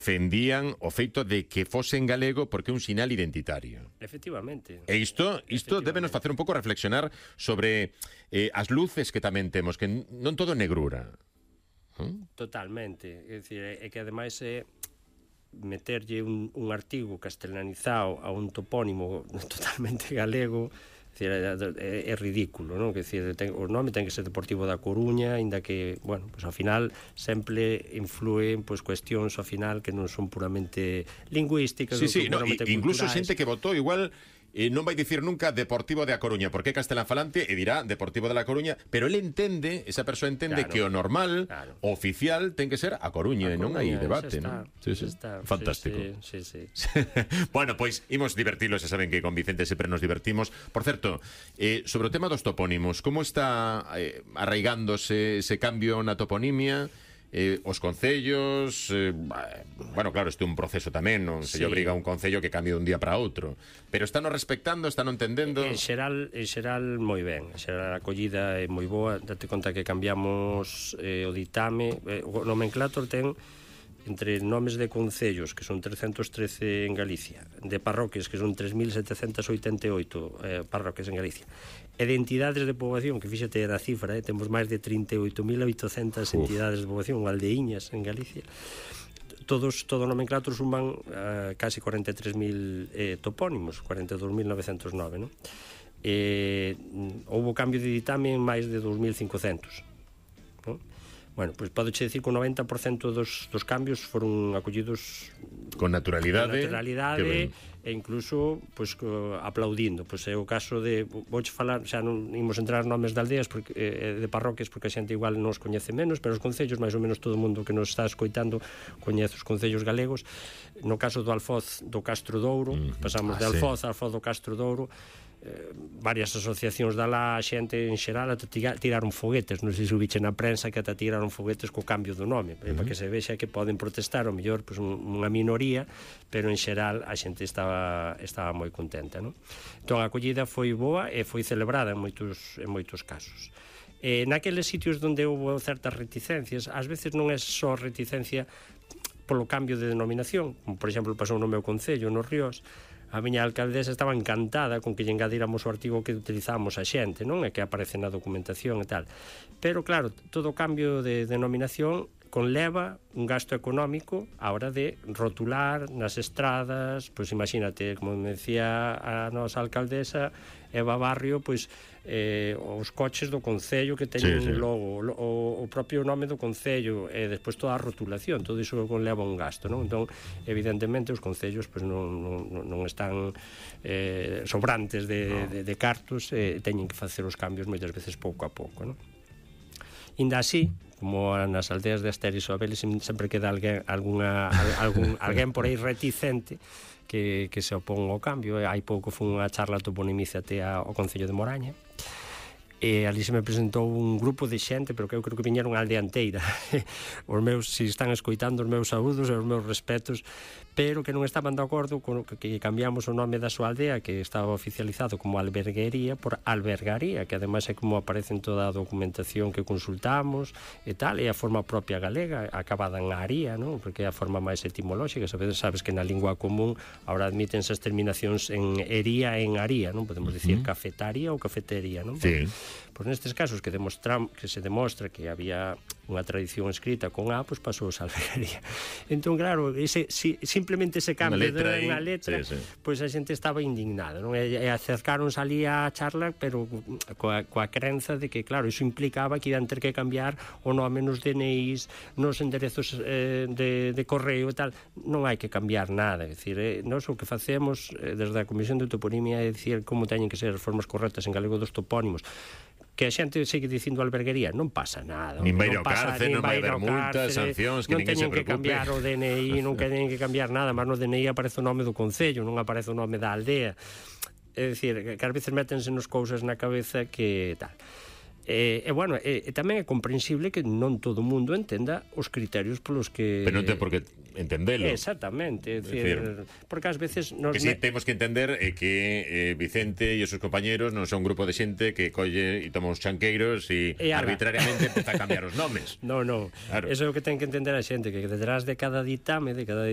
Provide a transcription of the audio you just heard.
defendían o feito de que fose en galego porque é un sinal identitario. Efectivamente. E isto débenos facer un pouco reflexionar sobre as luces que tamén temos, que non todo é negrura. Totalmente. É dicir, é que ademais é meterlle un artigo castelanizado a un topónimo totalmente galego. É ridículo, non? Que decir, o nome ten que ser Deportivo da Coruña, aínda que, bueno, pues ao final sempre influen pues cuestións ao final que non son puramente lingüísticas, puramente incluso xente que votou igual non vai dicir nunca Deportivo de A Coruña, porque é castelanfalante e dirá Deportivo de la Coruña, pero ele entende, esa persoa entende que o normal, o oficial, ten que ser A Coruña, e non hai debate, non? Fantástico. Sí. Bueno, pois imos divertilos, e saben que con Vicente sempre nos divertimos. Por certo, sobre o tema dos topónimos, como está arraigándose ese cambio na toponimia? Os concellos, bueno, claro, isto é un proceso tamén, non se lle obriga a un concello que cambie dun día para outro, pero están entendendo, están entendendo. En xeral moi ben, en xeral a acollida é moi boa. Date conta que cambiamos o ditame, o nomenclator ten entre nomes de concellos, que son 313 en Galicia, de parroquias, que son 3.788 parroquias en Galicia, e de entidades de poboación, que fíxate a cifra, temos máis de 38.800 entidades de poboación, aldeiñas en Galicia. Todo o nomenclator suman casi 43.000 topónimos, 42.909, non? Houbo cambio de ditame en máis de 2.500, non? Bueno, pois podeche decir que o 90% dos cambios foron acollidos con naturalidade e incluso pois aplaudindo. Pois é o caso de, vouche falar, xa non imos entrar nomes de aldeas porque de parroquias, porque a xente igual non os coñece menos, pero os concellos, máis ou menos todo o mundo que nos está escoitando coñece os concellos galegos. No caso do Alfoz do Castro Douro, pasamos de Alfoz a Alfoz do Castro Douro, varias asociacións da lá, a xente en xeral ata tiraron foguetes, non sei se o biche na prensa, que ata tiraron foguetes co cambio do nome, para que se vexa que poden protestar, ao mellor pues, unha minoría, pero en xeral a xente estaba moi contenta, non? Entón a acollida foi boa e foi celebrada en moitos casos. Naqueles sitios onde houve certas reticencias, ás veces non é só reticencia polo cambio de denominación, como por exemplo pasou no meu concello, no Ríos. A miña alcaldesa estaba encantada con que lle engadíramos o artigo que utilizamos a xente, non? E que aparece na documentación e tal. Pero claro, todo cambio de denominación conleva un gasto económico á hora de rotular nas estradas, pois imagínate, como me decía a nosa alcaldesa Eva Barrio, pois os coches do concello que teñen logo, o propio nome do concello, e despois toda a rotulación, todo iso conleva un gasto, non? Entón, evidentemente, os concellos pois non están sobrantes de cartos, teñen que facer os cambios moitas veces pouco a pouco, non? Inda así, como nas aldeas de Asterio e Sobeles sempre queda alguén por aí reticente que se opón ao cambio. Hai pouco foi unha charla toponimiza ao Concello de Moraña, e ali se me presentou un grupo de xente, pero que eu creo que viñeron a aldea inteira. Os meus, se están escoitando, os meus saúdos e os meus respetos, pero que non estaban de acordo con que cambiamos o nome da súa aldea, que estaba oficializado como alberguería, por albergaría, que ademais é como aparece en toda a documentación que consultamos e tal, e a forma propia galega, acabada en aría, non? Porque é a forma máis etimolóxica. Sabes que na lingua común ahora admítense as terminacións en ería e en aría, non? Podemos dicir cafetaría ou cafetería, non? Sí. Pois nestes casos que se demostra que había unha tradición escrita con A, pois pasou a albergaría. Entón, claro, simplemente ese cambio de unha letra, pois a xente estaba indignada, non? E acercaronse ali a charla, pero coa crenza de que, claro, iso implicaba que iban ter que cambiar o nome nos DNIs, nos enderezos de correo e tal. Non hai que cambiar nada, é dicir, nós o que facemos desde a Comisión de Toponimia é dicir como teñen que ser as formas correctas en galego dos topónimos. Que a xente segue dicindo alberguería, non pasa nada. Nin vai ao cárcel, non vai haber multas, sancións, que ninguén se preocupe. Non teñen que cambiar o DNI, non teñen que cambiar nada, mas no DNI aparece o nome do concello, non aparece o nome da aldea. É dicir, que ás veces métense nos cousas na cabeza que tal. Bueno, tamén é comprensible que non todo o mundo entenda os criterios polos que... Pero non ten por que entendelo. Exactamente, porque ás veces... Que si temos que entender que Vicente e os seus compañeros non son un grupo de xente que colle e toma uns chanqueiros e arbitrariamente empeza a cambiar os nomes. Non, claro. Eso é o que ten que entender a xente, que detrás de cada ditame, de cada